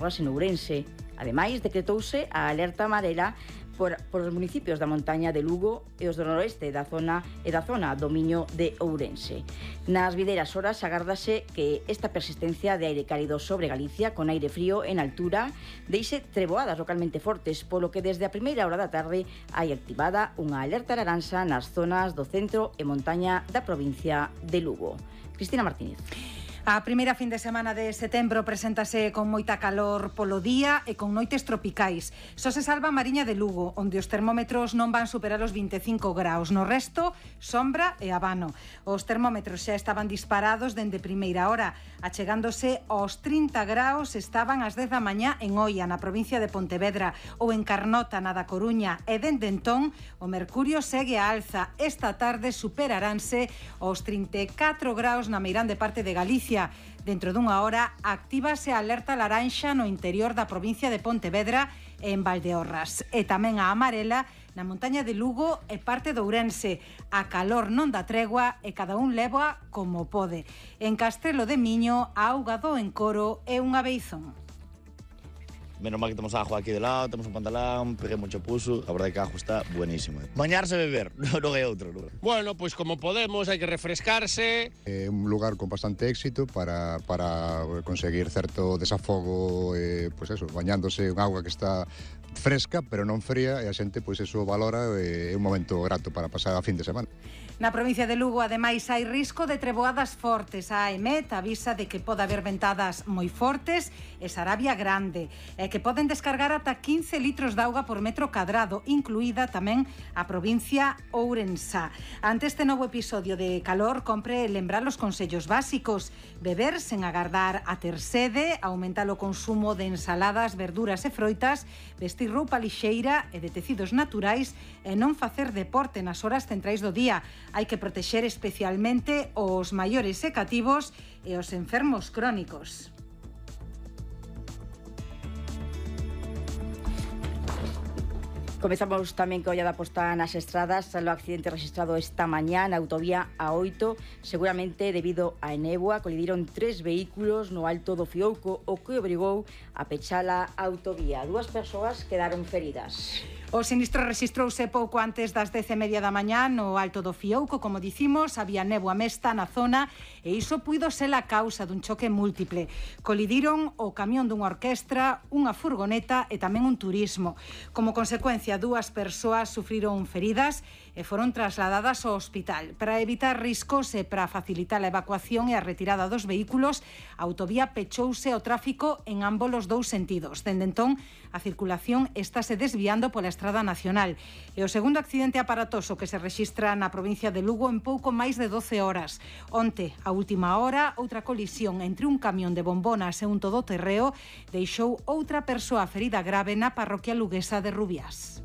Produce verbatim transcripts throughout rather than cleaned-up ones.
en Ourense. Ademais, decretouse a alerta amarela por, por os municipios da montaña de Lugo e os do noroeste da zona e da zona do Miño de Ourense. Nas videiras horas agárdase que esta persistencia de aire cálido sobre Galicia con aire frío en altura deixe treboadas localmente fortes, polo que desde a primeira hora da tarde hai activada unha alerta laranxa nas zonas do centro e montaña da provincia de Lugo. Cristina Martínez. A primeira fin de semana de setembro preséntase con moita calor polo día e con noites tropicais. Só se salva a Mariña de Lugo, onde os termómetros non van superar os vinte e cinco graus. No resto, sombra e abano. Os termómetros xa estaban disparados dende primeira hora, achegándose aos trinta graus estaban ás dez da mañá en Oia, na provincia de Pontevedra, ou en Carnota, na da Coruña, e dende entón o mercurio segue a alza. Esta tarde superaranse os trinta e catro graus na meirande parte de Galicia. Dentro dunha hora actívase a alerta laranxa no interior da provincia de Pontevedra e en Valdeorras, e tamén a amarela na montaña de Lugo e parte de Ourense. A calor non dá tregua e cada un leva como pode. En Castrelo de Miño, a auga do Encoro é unha beizón. Menos mal que temos agua aquí de lado, temos un pantalón, peguei mucho puso, a verdade que a agua está buenísima. Bañarse e beber, non é outro. Non. Bueno, pois pues como podemos, hai que refrescarse. É un lugar con bastante éxito para, para conseguir certo desafogo, eh, pois eso, bañándose en auga que está fresca, pero non fría, e a xente pois eso valora, e é un momento grato para pasar a fin de semana. Na provincia de Lugo, ademais, hai risco de treboadas fortes. A AEMET avisa de que pode haber ventadas moi fortes e Sarabia grande, e que poden descargar ata quince litros de auga por metro cadrado, incluída tamén a provincia ourensá. Ante este novo episodio de calor, compre lembrar os consellos básicos: beber sen agardar a ter sede, aumentar o consumo de ensaladas, verduras e froitas, vestir roupa lixeira e de tecidos naturais e non facer deporte nas horas centrais do día. Hai que protexer especialmente os maiores e cativos e os enfermos crónicos. Comezamos tamén que olla da posta nas estradas. O accidente registrado esta mañá na autovía A oito, seguramente debido á néboa, colidiron tres vehículos no alto do Fiouco, o que obrigou a pechar a autovía. Dúas persoas quedaron feridas. O sinistro rexistrouse pouco antes das dez e media da mañá no alto do Fiouco. Como dicimos, había néboa mesta na zona e iso puido ser a causa dun choque múltiple. Colidiron o camión dunha orquestra, unha furgoneta e tamén un turismo. Como consecuencia, dúas persoas sufriron feridas e foron trasladadas ao hospital. Para evitar riscos e para facilitar a evacuación e a retirada dos vehículos, a autovía pechouse ao tráfico en ambos os dous sentidos. Dende entón, a circulación estáse desviando pola Estrada Nacional. E o segundo accidente aparatoso que se rexistra na provincia de Lugo en pouco máis de doce horas. Onte, a última hora, outra colisión entre un camión de bombonas e un todoterreo deixou outra persoa ferida grave na parroquia luguesa de Rubiás.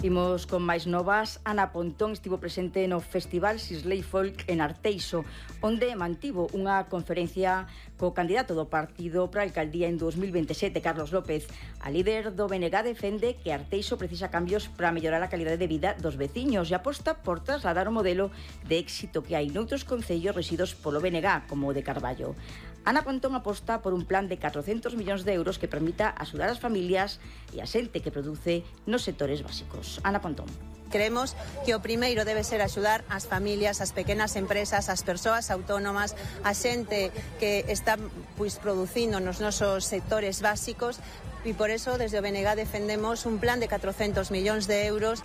Imos con máis novas. Ana Pontón estivo presente no Festival Sisley Folk en Arteixo, onde mantivo unha conferencia co candidato do partido para a alcaldía en dos mil veintesete, Carlos López. A líder do B N G defende que Arteixo precisa cambios para mellorar a calidade de vida dos veciños e aposta por trasladar o modelo de éxito que hai noutros concellos residos polo B N G, como o de Carballo. Ana Pontón aposta por un plan de catrocentos millóns de euros que permita axudar as familias e a xente que produce nos sectores básicos. Ana Pontón. Creemos que o primeiro debe ser axudar as familias, as pequenas empresas, as persoas autónomas, a xente que está pois, producindo nos nosos sectores básicos, e por eso desde o B N G defendemos un plan de catrocentos millóns de euros.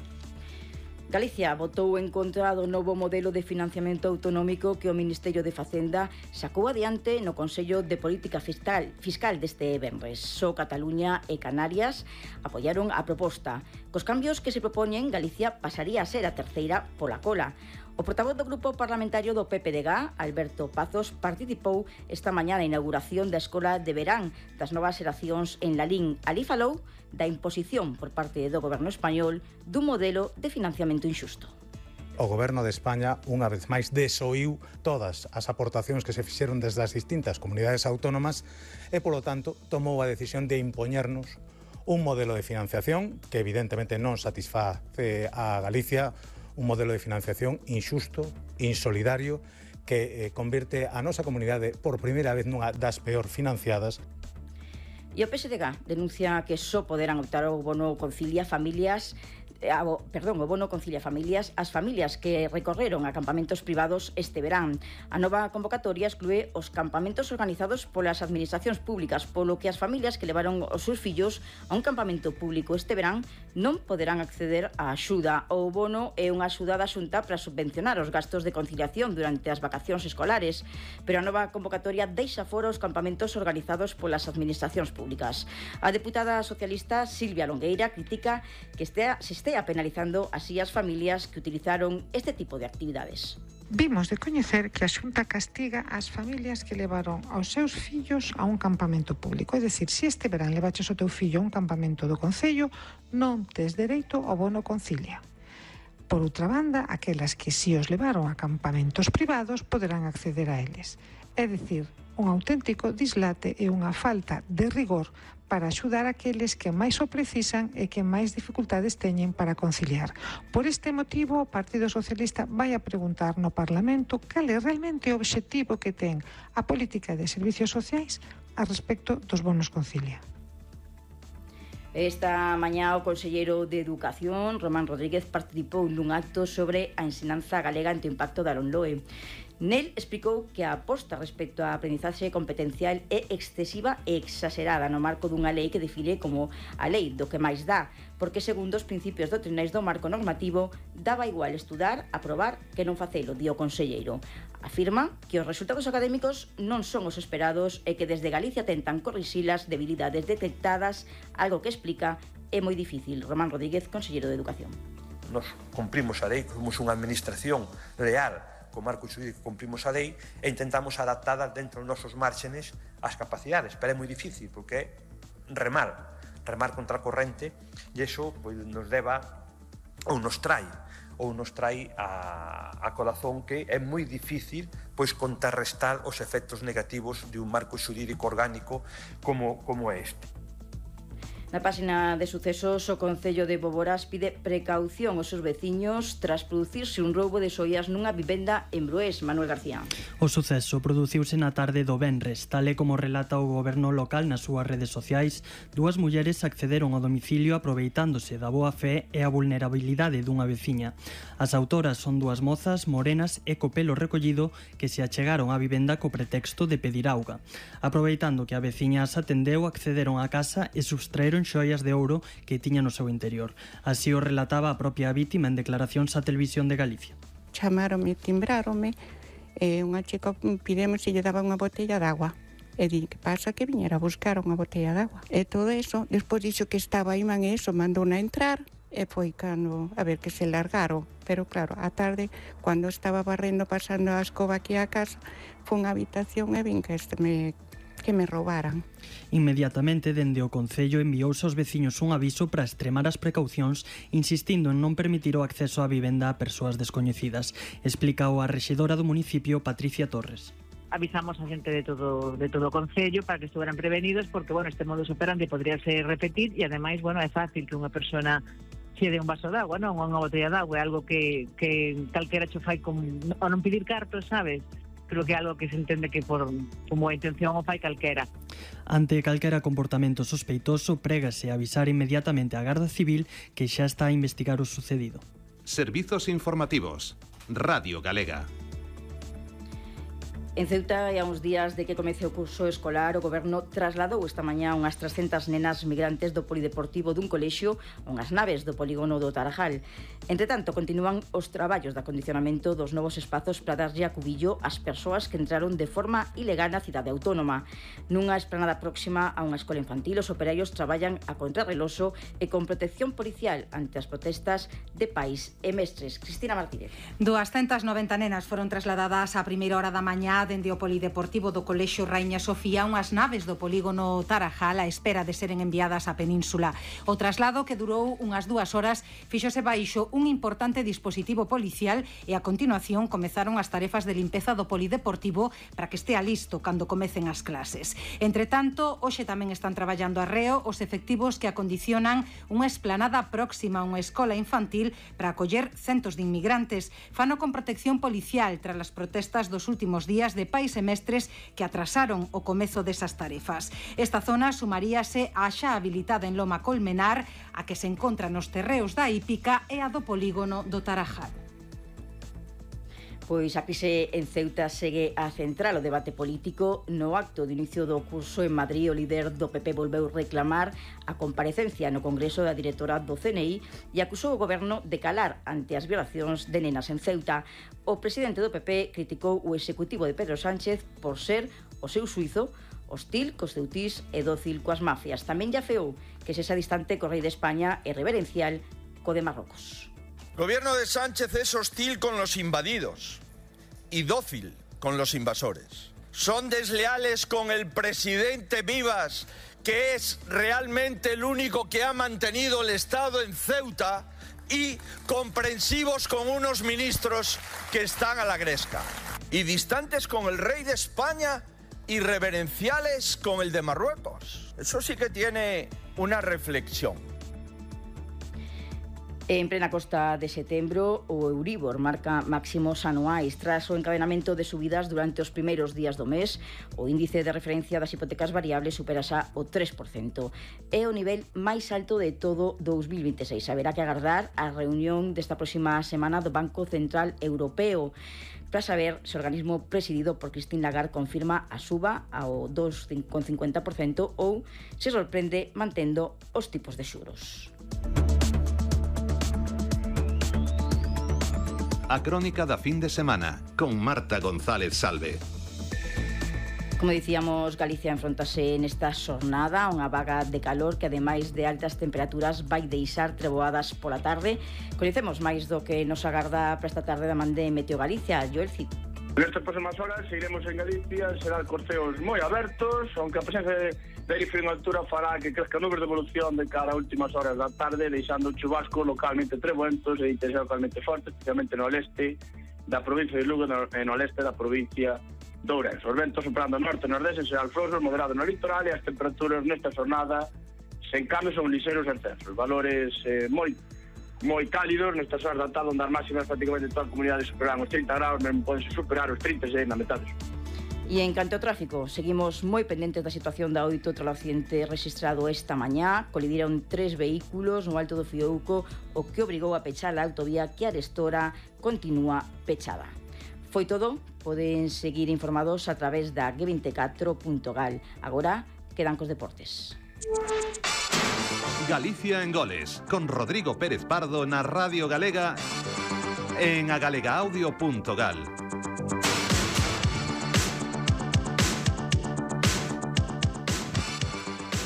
Galicia votou en contra do novo modelo de financiamento autonómico que o Ministerio de Facenda sacou adiante no Consello de Política Fiscal, fiscal deste venres. Só Cataluña e Canarias apoiaron a proposta. Cos cambios que se propoñen, Galicia pasaría a ser a terceira pola cola. O portavoz do Grupo Parlamentario do P P D G, Alberto Pazos, participou esta mañá na inauguración da Escola de Verán das novas xeracións en Lalín. Ali falou da imposición por parte do Goberno español dun modelo de financiamento inxusto. O Goberno de España, unha vez máis, desoíu todas as aportacións que se fixeron desde as distintas comunidades autónomas e, polo tanto, tomou a decisión de impoñernos un modelo de financiación que evidentemente non satisface a Galicia, un modelo de financiación inxusto, insolidario, que eh, convirte a nosa comunidade por primeira vez nunha das peor financiadas. E o P S D G denuncia que só poderán optar ao bono Concilia familias A, perdón, o bono Concilia Familias as familias que recorreron a campamentos privados este verán. A nova convocatoria exclúe os campamentos organizados polas administracións públicas, polo que as familias que levaron os seus fillos a un campamento público este verán non poderán acceder á axuda. O bono é unha axuda da Xunta para subvencionar os gastos de conciliación durante as vacacións escolares, pero a nova convocatoria deixa fora os campamentos organizados polas administracións públicas. A deputada socialista Silvia Longueira critica que estea, se estea penalizando así as familias que utilizaron este tipo de actividades. Vimos de coñecer que a Xunta castiga as familias que levaron aos seus fillos a un campamento público. É dicir, se este verán levaches o teu fillo a un campamento do Concello, non tes dereito ao bono Concilia. Por outra banda, aquelas que si os levaron a campamentos privados poderán acceder a eles. É dicir, un auténtico dislate e unha falta de rigor para axudar aqueles que máis o precisan e que máis dificultades teñen para conciliar. Por este motivo, o Partido Socialista vai a preguntar no Parlamento cal é realmente o obxectivo que ten a política de servicios sociais a respecto dos bonos Concilia. Esta mañá o conselleiro de Educación, Román Rodríguez, participou nun acto sobre a ensinanza galega ante o impacto da LOMLOE. Nel explicou que a aposta respecto á aprendizaxe competencial é excesiva e exagerada no marco dunha lei que define como a lei do que máis dá, porque segundo os principios doutrinais do marco normativo daba igual estudar, aprobar que non facelo, di o conselleiro. Afirma que os resultados académicos non son os esperados e que desde Galicia tentan corrixir as debilidades detectadas, algo que explica é moi difícil. Román Rodríguez, conselleiro de Educación. Nos cumprimos a lei, somos unha administración leal, co marco xurídico cumprimos a lei e intentamos adaptada dentro dos nosos márgenes as capacidades, pero é moi difícil porque é remar, remar contra a corrente e iso pois, nos leva ou nos trai ou nos trai a, a corazón que é moi difícil pois contrarrestar os efectos negativos de un marco xurídico orgánico como, como é este. Na páxina de sucesos, o Concello de Boborás pide precaución aos seus veciños tras producirse un roubo de xoias nunha vivenda en Broés. Manuel García. O suceso produciuse na tarde do venres, tal e como relata o goberno local nas súas redes sociais. Dúas mulleres accederon ao domicilio aproveitándose da boa fe e a vulnerabilidade dunha veciña. As autoras son dúas mozas morenas e co pelo recollido que se achegaron á vivenda co pretexto de pedir auga. Aproveitando que a veciña as atendeu, accederon á casa e subtraeron xoias de ouro que tiña no seu interior. Así o relataba a propia vítima en declaracións á Televisión de Galicia. Chamaronme, timbráronme, e unha chica pidemos se lle daba unha botella de agua. E di, que pasa? Que viñera a buscar unha botella de agua. E todo eso, despois dixo que estaba aí, man, eso, mandou-na entrar, e foi cando, a ver, que se largaron. Pero claro, a tarde, cando estaba barrendo, pasando a escoba aquí a casa, foi unha habitación e vin que este me que me roubaran. Inmediatamente, dende o Concello, enviouse aos veciños un aviso para extremar as precaucións, insistindo en non permitir o acceso á vivenda a persoas descoñecidas. Explicou a rexedora do municipio, Patricia Torres. Avisamos a xente de todo de todo o Concello para que estuveran prevenidos, porque, bueno, este modus operandi podría ser repetir e, ademais, bueno, é fácil que unha persona che dé un vaso de agua, non? Unha botella de agua, é algo que, que calquera cho fai con, a non pedir cartos, sabes? Creo que é algo que se entende que por como a intención o fai calquera. Ante calquera comportamento sospeitoso, prégase avisar inmediatamente á Garda Civil, que xa está a investigar o sucedido. Servizos informativos. Radio Galega. En Ceuta, e a uns días de que comece o curso escolar, o Goberno trasladou esta mañá unhas trescentas nenas migrantes do polideportivo dun colexio a unhas naves do polígono do Tarajal. Entre tanto, continúan os traballos de acondicionamento dos novos espazos para darlle acubillo ás persoas que entraron de forma ilegal na cidade autónoma. Nunha esplanada próxima a unha escola infantil, os operarios traballan a contrarreloxo e con protección policial ante as protestas de pais e mestres. Cristina Martínez. duascentas noventa nenas foron trasladadas á primeira hora da mañá xa dende o Polideportivo do Colexio Raíña Sofía unhas naves do polígono Tarajal á espera de seren enviadas á península. O traslado, que durou unhas dúas horas, fíxose baixo un importante dispositivo policial e a continuación comezaron as tarefas de limpeza do Polideportivo para que estea listo cando comecen as clases. Entre tanto, hoxe tamén están traballando arreo os efectivos que acondicionan unha esplanada próxima a unha escola infantil para acoller centos de inmigrantes. Fano con protección policial tras as protestas dos últimos días de pais e mestres que atrasaron o comezo desas tarefas. Esta zona sumaríase á xa habilitada en Loma Colmenar, a que se encontra nos terreos da Hípica e a do polígono do Tarajal. Pois a crise en Ceuta segue a central o debate político. No acto de inicio do curso en Madrid, o líder do P P volveu reclamar a comparecencia no Congreso da directora do C N I e acusou o goberno de calar ante as violacións de nenas en Ceuta. O presidente do P P criticou o executivo de Pedro Sánchez por ser, o seu suizo, hostil cos ceutís e dócil coas mafias. Tamén lle afeou que sexa distante co rei de España e reverencial co de Marrocos. El gobierno de Sánchez es hostil con los invadidos y dócil con los invasores. Son desleales con el presidente Vivas, que es realmente el único que ha mantenido el Estado en Ceuta, y comprensivos con unos ministros que están a la gresca. Y distantes con el rey de España y reverenciales con el de Marruecos. Eso sí que tiene una reflexión. En plena costa de setembro, o Euribor marca máximos anuais tras o encadenamento de subidas durante os primeiros días do mes. O índice de referencia das hipotecas variables supera xa o tres por cento. É o nivel máis alto de todo dous mil vinte e seis. Haberá que agardar a reunión desta próxima semana do Banco Central Europeo para saber se o organismo presidido por Christine Lagarde confirma a suba ao dos vírgula cincuenta por cento ou se sorprende mantendo os tipos de xuros. A crónica da fin de semana con Marta González Salve. Como dicíamos, Galicia enfrontase nesta xornada a unha vaga de calor que, ademais de altas temperaturas, vai deixar treboadas pola tarde. Coñecemos máis do que nos agarda para esta tarde da man de Meteo Galicia. Joel Cid. Nestas próximas horas seguiremos en Galicia, serán corteos moi abertos, aunque a presencia de aire frío en altura fará que crezca nubes de evolución de cara a últimas horas da tarde, deixando chubascos localmente trebuentos e intensidade localmente forte, especialmente no leste da provincia de Lugo e no leste da provincia de Ourense. Os ventos soprando norte e nordeste serán flosos, moderados no litoral, e as temperaturas nesta jornada sen cambios son lixeiros ascensos. Valores eh, moi moi cálidos nestas horas da tarde, onde as máximas prácticamente toda a comunidade superarán os trinta graus, mesmo podense superar os trinta e seis na metade. E en canto ao tráfico, seguimos moi pendentes da situación da oito tras o accidente registrado esta mañá. Colidiron tres vehículos no Alto do Fiouco, o que obrigou a pechar a autovía que arestora continúa pechada. Foi todo, poden seguir informados a través da G veinticuatro punto gal. Agora quedan cos deportes. Galicia en goles, con Rodrigo Pérez Pardo na Radio Galega en agalegaaudio punto gal.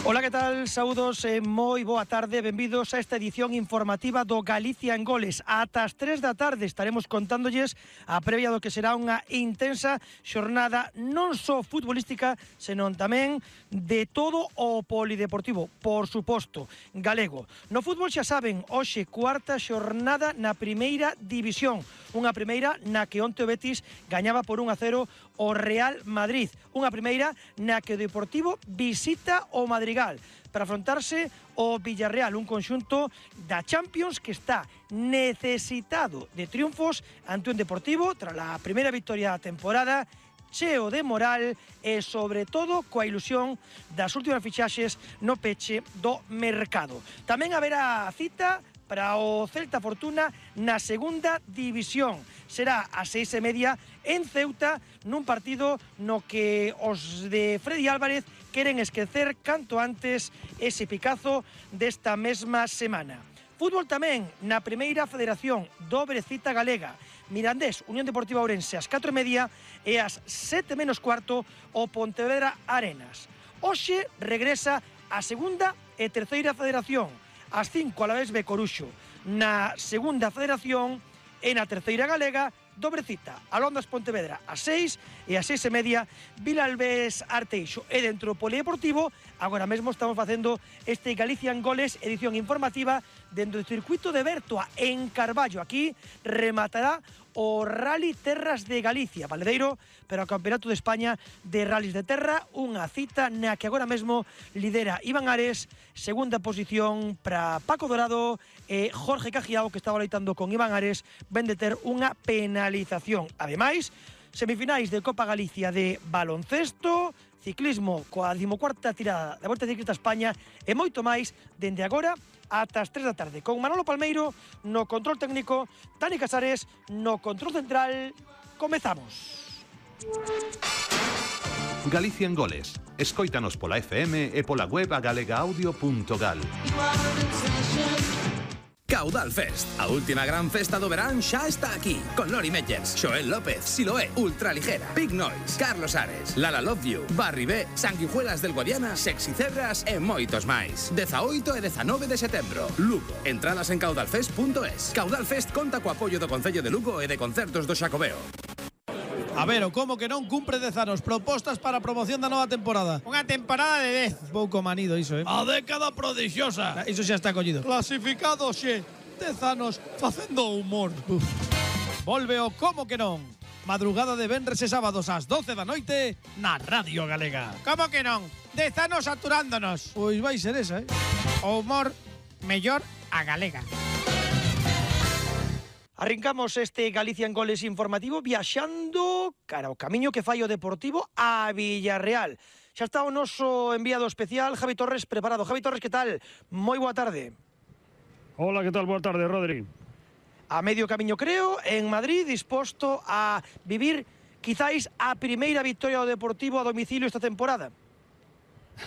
Ola, que tal? Saúdos e moi boa tarde. Benvidos a esta edición informativa do Galicia en Goles. Ata as tres da tarde estaremos contándolles a previa do que será unha intensa xornada non só futbolística, senón tamén de todo o polideportivo, por suposto, galego. No fútbol xa saben, hoxe cuarta xornada na primeira división. Unha primeira na que onte o Betis gañaba por un a cero o Real Madrid. Unha primeira na que o Deportivo visita o Madrigal para afrontarse o Villarreal, un conxunto da Champions que está necesitado de triunfos ante un Deportivo tras a primeira victoria da temporada, cheo de moral e, sobre todo, coa ilusión das últimas fichaxes no peche do mercado. Tamén haberá cita para o Celta Fortuna na segunda división. Será a seis e media en Ceuta, nun partido no que os de Freddy Álvarez queren esquecer canto antes ese picazo desta mesma semana. Fútbol tamén na primeira federación, dobre cita galega. Mirandés, Unión Deportiva Ourense, ás catro e media e ás sete menos cuarto o Pontevedra Arenas. Hoxe regresa a segunda e terceira federación. Ás cinco a la vez B Coruxo. Na segunda federación e na terceira galega, dobre cita, Alondas Pontevedra ás seis e ás seis e media Vilalbés Arteixo. E dentro do polideportivo, agora mesmo estamos facendo este Galicia en Goles, edición informativa dentro do circuito de Bertoa en Carballo. Aquí rematará o Rally Terras de Galicia, Valedeiro, pero o Campeonato de España de Rallys de Terra, unha cita na que agora mesmo lidera Iván Ares, segunda posición para Paco Dorado e Jorge Cajiao, que estaba loitando con Iván Ares, ven de ter unha penalización. Ademais, semifinais de Copa Galicia de baloncesto, ciclismo coa decimocuarta tirada da Volta Ciclista España e moito máis dende agora ata as tres da tarde, con Manolo Palmeiro no control técnico, Dani Casares no control central. Comezamos. Galicia en Goles. Escóitanos pola F M e pola web a galega audio punto gal. Caudal Fest, a última gran festa do verán xa está aquí, con Lori Meyers, Xoel López, Siloé, Ultraligera, Big Noise, Carlos Ares, Lala Love You, Barry B, Sanguijuelas del Guadiana, Sexy Cerras e moitos máis. dezaoito e dezanove de setembro, Lugo. Entradas en caudalfest punto es. Caudal Fest conta co apoio do Concello de Lugo e de Concertos do Xacobeo. A ver, o como que non cumpre dez anos. Propostas para a promoción da nova temporada. Unha temporada de dez. Pouco manido iso, eh? A década prodixiosa. Iso xa está collido. Clasificado xe. dez anos facendo humor. Uf. Volve o como que non. Madrugada de venres e sábados ás doce da noite na Radio Galega. Como que non? dez anos saturándonos. Pois vai ser esa, eh? O humor mellor a galega. Arrancamos este Galicia en Goles informativo viaxando cara ao camiño que fai o Deportivo a Villarreal. Xa está o noso enviado especial, Javi Torres, preparado. Javi Torres, que tal? Moi boa tarde. Hola, que tal? Boa tarde, Rodri. A medio camiño, creo, en Madrid, disposto a vivir quizáis a primeira victoria do Deportivo a domicilio esta temporada.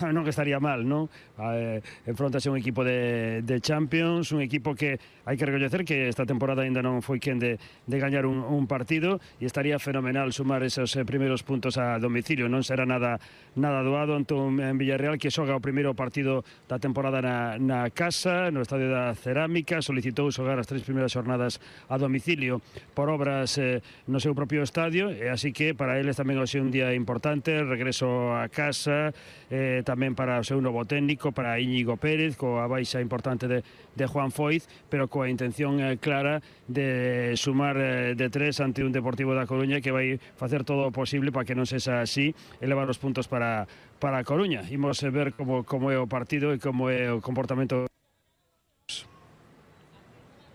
Non que estaría mal, non? Eh, enfrontase un equipo de, de Champions, un equipo que hai que recoñecer que esta temporada ainda non foi quen de, de gañar un, un partido, e estaría fenomenal sumar esos eh, primeiros puntos a domicilio. Non será nada nada doado ante un en Villarreal que xoga o primeiro partido da temporada na, na casa, no Estadio da Cerámica. Solicitou xogar as tres primeiras xornadas a domicilio por obras eh, no seu propio estadio, e así que para eles tamén hoxe un día importante, regreso a casa, eh, tamén para o seu novo técnico, para Íñigo Pérez, coa baixa importante de, de Juan Foiz, pero coa intención eh, clara de sumar eh, de tres ante un Deportivo da Coruña que vai facer todo o posible para que non sexa así e levar os puntos para, para a Coruña. Imos ver como, como é o partido e como é o comportamento.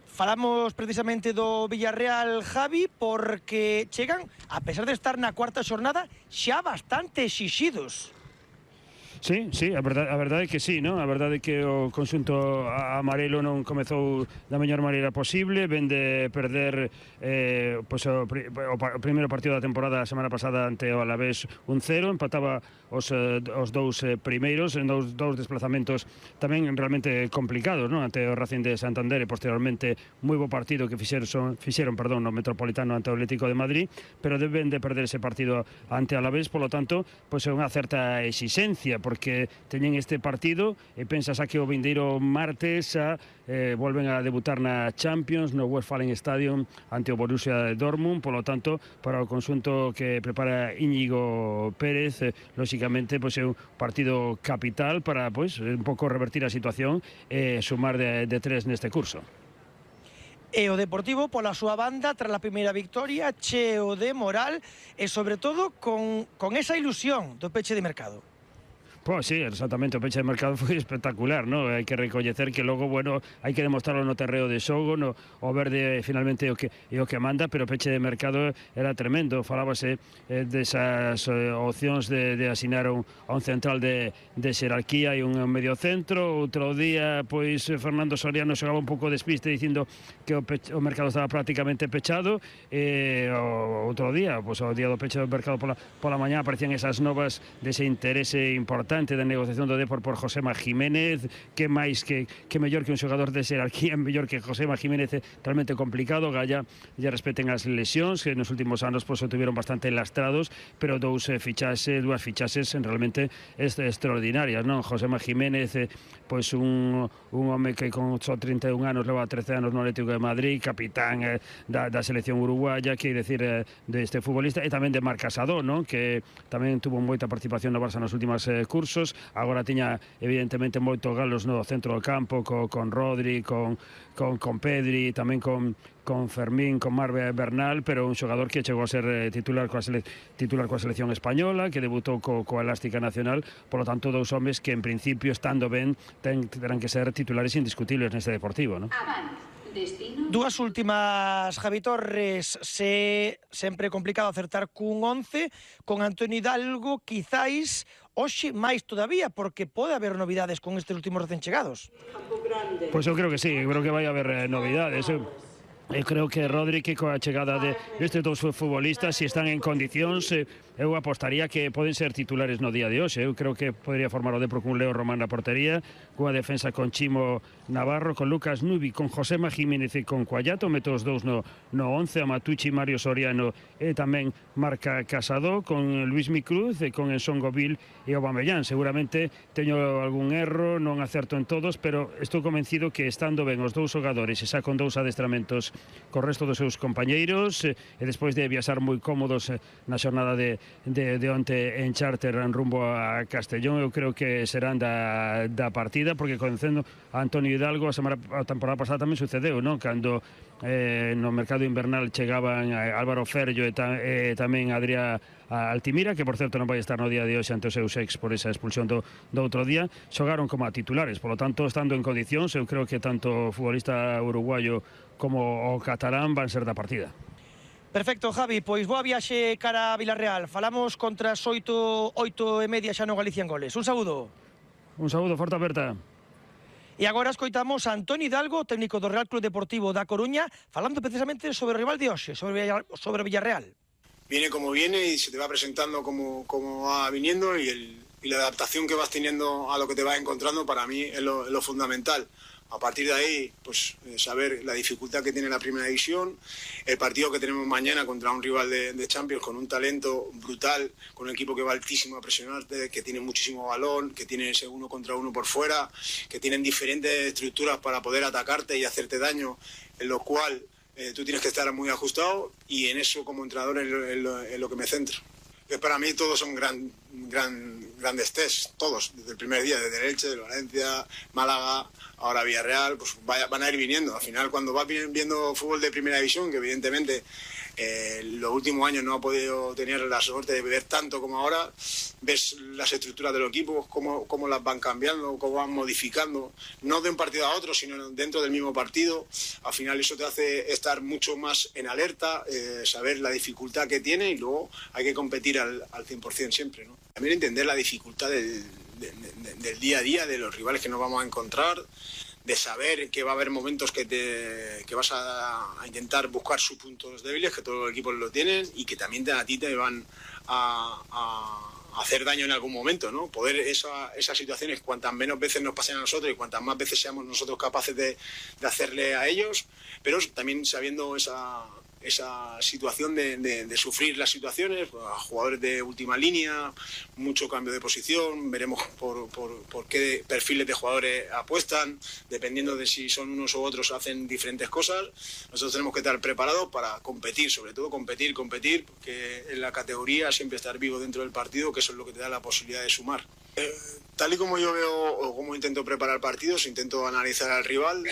Falamos precisamente do Villarreal, Javi, porque chegan, a pesar de estar na cuarta xornada, xa bastante exixidos. Sí, sí, a verdade, a verdade é que sí, non? A verdade é que o conxunto amarelo non comezou da mellor maneira posible, ven de perder eh, pues, o, o, o primeiro partido da temporada a semana pasada ante o Alavés un cero, empataba os, os dous primeiros en dous, dous desplazamentos tamén realmente complicados, non? Ante o Racing de Santander e posteriormente moi bo partido que fixeron, fixeron perdón, no Metropolitano ante o Atlético de Madrid, pero deben de perder ese partido ante o Alavés, polo tanto, pois é unha certa exixencia, porque teñen este partido e pensas a que o vindeiro martes a, eh, volven a debutar na Champions, no Westfalen Stadium ante o Borussia Dortmund, polo tanto, para o conxunto que prepara Íñigo Pérez, eh, lóxicamente, pois é un partido capital para, pois, un pouco revertir a situación e sumar de, de tres neste curso. E o Deportivo, pola súa banda, tras a primeira victoria, cheo de moral e, sobre todo, con, con esa ilusión do peche de mercado. Pois sí, exactamente, o peche de mercado foi espectacular, ¿no? Hai que recoñecer que logo, bueno, hai que demostrarlo no terreo de xogo, no, o verde finalmente é o que, é o que manda, pero o peche de mercado era tremendo. Falábase eh, desas eh, opcións de, de asinar un, a un central de, de xerarquía e un medio centro. Outro día, pois, Fernando Soriano xogaba un pouco despiste dicindo que o, peche, o mercado estaba prácticamente pechado, e o, outro día, pois, o día do peche do mercado pola, pola mañá aparecían esas novas dese interese importante importante da negociación do Depor por Josema Jiménez, que máis que, que mellor que un xogador de xerarquía, mellor que Josema Jiménez, é realmente complicado. Galla lle respeten as lesións, que nos últimos anos pois, o tuvieron bastante lastrados, pero dous eh, fichases, dúas fichases realmente est extraordinarias, non? Josema Jiménez, eh, pois un, un home que con só trinta e un anos leva trece anos no Atlético de Madrid, capitán eh, da, da selección uruguaya, que decir eh, deste futbolista, e tamén de Marc Casado, non? Que tamén tuvo moita participación no Barça nos últimos eh, cursos, agora tiña evidentemente moito galos no centro do campo, co, con Rodri, con, con, con Pedri, tamén con, con Fermín, con Marve Bernal, pero un xogador que chegou a ser eh, titular coa, sele, titular coa selección española, que debutou co, coa Elástica Nacional, polo tanto dous homes que en principio, estando ben, ten, terán que ser titulares indiscutibles neste Deportivo, non? Dúas últimas, Javi Torres. Se sempre complicado acertar cun once, con Antonio Hidalgo quizáis hoxe máis todavía, porque pode haber novidades con estes últimos recén chegados. Pois eu creo que sí, creo que vai haber eh, novidades. Eu, eu creo que Rodri, que coa chegada de estes dous futbolistas, se están en condicións, eh, eu apostaría que poden ser titulares no día de hoxe. Eu creo que podría formar o Depor con Leo Román na portería, coa defensa con Chimo Navarro, con Lucas Nubi, con Josema Jiménez e con Cuallato, meto os dous no, no once, a Matucci, Mario Soriano e tamén Marca Casado, con Luis Micruz e con Enson Govil e Aubameyang. Seguramente teño algún erro, non acerto en todos, pero estou convencido que estando ben os dous xogadores e xa con dous adestramentos co resto dos seus compañeiros e despois de viaxar moi cómodos na xornada de de, de onte en charter en rumbo a Castellón, eu creo que serán da, da partida, porque conhecendo a Antonio Hidalgo a, semana, a temporada pasada tamén sucedeu, non? Cando eh, no mercado invernal chegaban Álvaro Ferllo e, ta, e tamén Adrià Altimira, que por certo non vai estar no día de hoxe ante os seus ex por esa expulsión do, do outro día, xogaron como a titulares, polo tanto, estando en condicións, eu creo que tanto o futbolista uruguayo como o catalán van ser da partida. Perfecto, Javi, pois boa viaxe cara a Vilarreal. Falamos contra as oito, oito e media xa no Galicia en Goles. Un saúdo. Un saúdo, forte aperta. E agora escoitamos a Antonio Hidalgo, técnico do Real Club Deportivo da Coruña, falando precisamente sobre o rival de hoxe, sobre, sobre Villarreal. Viene como viene y se te va presentando como, como va viniendo y, el, y la adaptación que vas teniendo a lo que te vas encontrando para mí es lo, es lo fundamental. A partir de ahí, pues saber la dificultad que tiene la primera división, el partido que tenemos mañana contra un rival de, de Champions con un talento brutal, con un equipo que va altísimo a presionarte, que tiene muchísimo balón, que tiene ese uno contra uno por fuera, que tienen diferentes estructuras para poder atacarte y hacerte daño, en lo cual eh, tú tienes que estar muy ajustado, y en eso como entrenador es lo, es lo, es lo que me centro. Que para mí todos son gran, gran, grandes tests, todos, desde el primer día, desde el Elche, de Valencia, Málaga, ahora Villarreal, pues vaya, van a ir viniendo. Al final, cuando vas viendo fútbol de primera división, que evidentemente eh, los últimos años no ha podido tener la suerte de ver tanto como ahora, ves las estructuras de los equipos, cómo, cómo las van cambiando, cómo van modificando, no de un partido a otro, sino dentro del mismo partido. Al final eso te hace estar mucho más en alerta, eh, saber la dificultad que tiene, y luego hay que competir al, al cien por cien siempre, ¿no? También entender la dificultad del, de, de, del día a día, de los rivales que nos vamos a encontrar, de saber que va a haber momentos que, te, que vas a, a intentar buscar sus puntos débiles, que todos los equipos lo tienen, y que también te, a ti te van a, a hacer daño en algún momento, ¿no? Poder esa, esas situaciones, cuantas menos veces nos pasen a nosotros y cuantas más veces seamos nosotros capaces de, de hacerle a ellos, pero también sabiendo esa, esa situación de, de, de sufrir las situaciones, a jugadores de última línea, mucho cambio de posición, veremos por, por, por qué perfiles de jugadores apuestan, dependiendo de si son unos u otros, hacen diferentes cosas. Nosotros tenemos que estar preparados para competir, sobre todo competir, competir, porque en la categoría siempre estar vivo dentro del partido, que eso es lo que te da la posibilidad de sumar. Eh, tal y como yo veo o cómo intento preparar partidos, intento analizar al rival,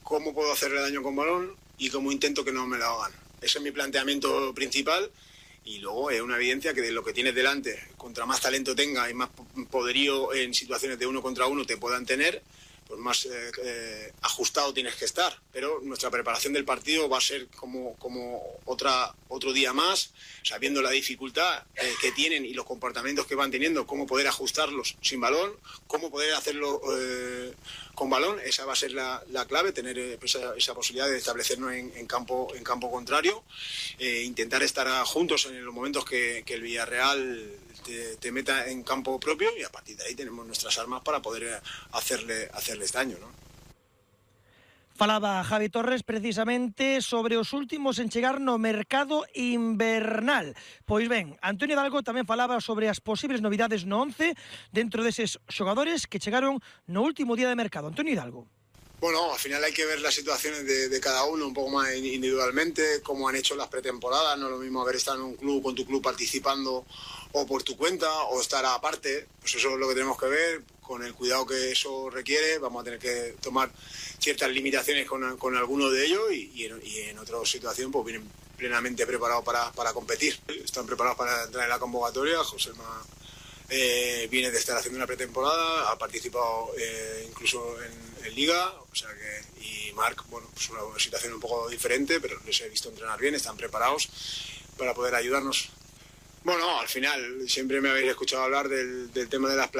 cómo puedo hacerle daño con balón y cómo intento que no me lo hagan. Ese es mi planteamiento principal, y luego es una evidencia que de lo que tienes delante, contra más talento tenga y más poderío en situaciones de uno contra uno te puedan tener, pues más eh, eh, ajustado tienes que estar. Pero nuestra preparación del partido va a ser como, como otra, otro día más, sabiendo la dificultad eh, que tienen y los comportamientos que van teniendo, cómo poder ajustarlos sin balón, cómo poder hacerlo eh, con balón. Esa va a ser la, la clave, tener eh, esa, esa posibilidad de establecernos en, en, campo, en campo contrario, eh, intentar estar juntos en los momentos que, que el Villarreal te, te meta en campo propio, y a partir de ahí tenemos nuestras armas para poder hacerle, hacerles daño, ¿no? Falaba Javi Torres precisamente sobre os últimos en chegar no mercado invernal. Pois ben, Antonio Hidalgo tamén falaba sobre as posibles novidades no once dentro deses xogadores que chegaron no último día de mercado. Antonio Hidalgo. Bueno, al final hay que ver las situaciones de, de cada uno un poco más individualmente, cómo han hecho las pretemporadas. No es lo mismo haber estado en un club con tu club participando o por tu cuenta o estar aparte. Pues eso es lo que tenemos que ver, con el cuidado que eso requiere. Vamos a tener que tomar ciertas limitaciones con, con alguno de ellos y, y, en, y en otra situación pues vienen plenamente preparados para, para competir. Están preparados para entrar en la convocatoria. Joséma eh, viene de estar haciendo una pretemporada, ha participado eh, incluso en, en Liga, o sea que, y Marc, bueno, pues una situación un poco diferente, pero les he visto entrenar bien, están preparados para poder ayudarnos. Bueno, al final siempre me habéis escuchado hablar del, del tema de las plantillas.